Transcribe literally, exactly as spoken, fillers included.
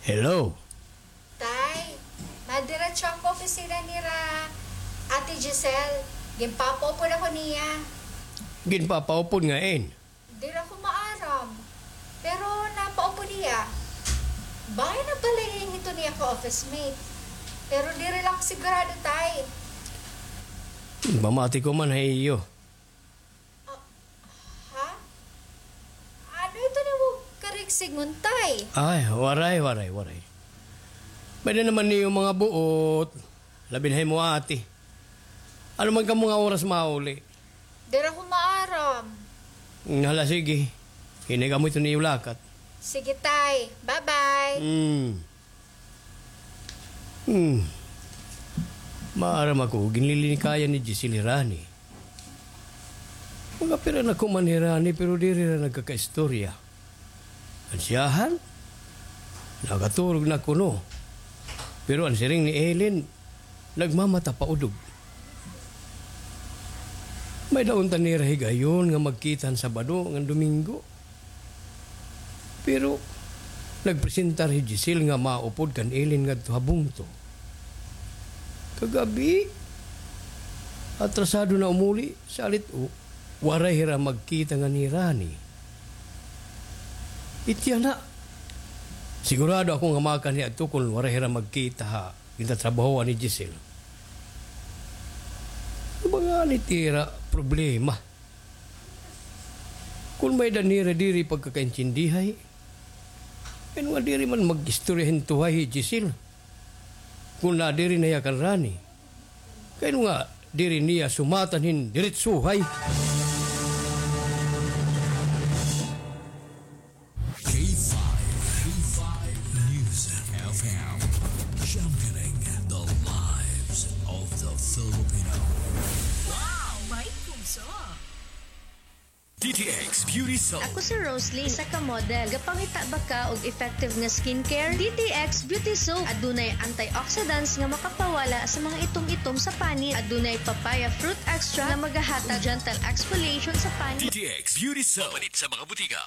Hello. Tay, madiretso ako opisina nira Ate Giselle. Ginpapaupod ako niya. Ginpapaupod nga in? Diri ako maaram. Pero napaupod niya. Bangin na balay hito niya ka office mate. Pero diri lang sigurado, tay. Pamati ko man ha iyo. Ah, ha? Ano ito nimo karigsigon, tay? Ay, waray, waray, waray. May-ada naman niyo mga buot. Labi na ha imo ate. Ano man kamo nga oras mauli? Diri ako maaram. Hmm, hala, sige. Hinay kamo ito niyo lakat. Sige, tay. Bye-bye. Hmm. Hmm. Maaram ako, ginlilinikayan ni Giselle hi Rani. Mga pira na kuman hi Rani, pero diri ra nagkakaistorya. An siyahan, nakaturog na kuno. Pero an siring ni Ellen, nagmamata pa udog. May-ada unta nira higayon nga magkita han Sabado ngan Domingo. Pero nagpresentar hi Giselle nga maupod kan Ellen ngadto ha bungto. Kagab-i, atrasado na umuli, salit o, waray hira magkita ngan hi Rani. Itya na. Sigurado ako nga makanhi adto kon waray hira magkita ha gintatrabahoan ni Giselle. Ano ba ngani it ira problema? Kon may-ada nira diri pagkakaintindihay, kay ano nga diri man mag-istorya hin tuhay hi Giselle? Kon nadiri na hiya kan Rani, kay ano nga diri niya sumatan hin diretsuhay? K five, K five News F M, championing the lives of the Filipino. Wow, may puso. D T X Beauty Soap. Ako si Rosalie, isa ka model. Gapangita ba ka og effective nga skincare? D T X Beauty Soap. Adunay antioxidants nga makapawala sa mga itom-itom sa panit. Adunay papaya fruit extract nga magahatag gentle exfoliation sa panit. D T X Beauty Soap. Mapalit sa mga butika.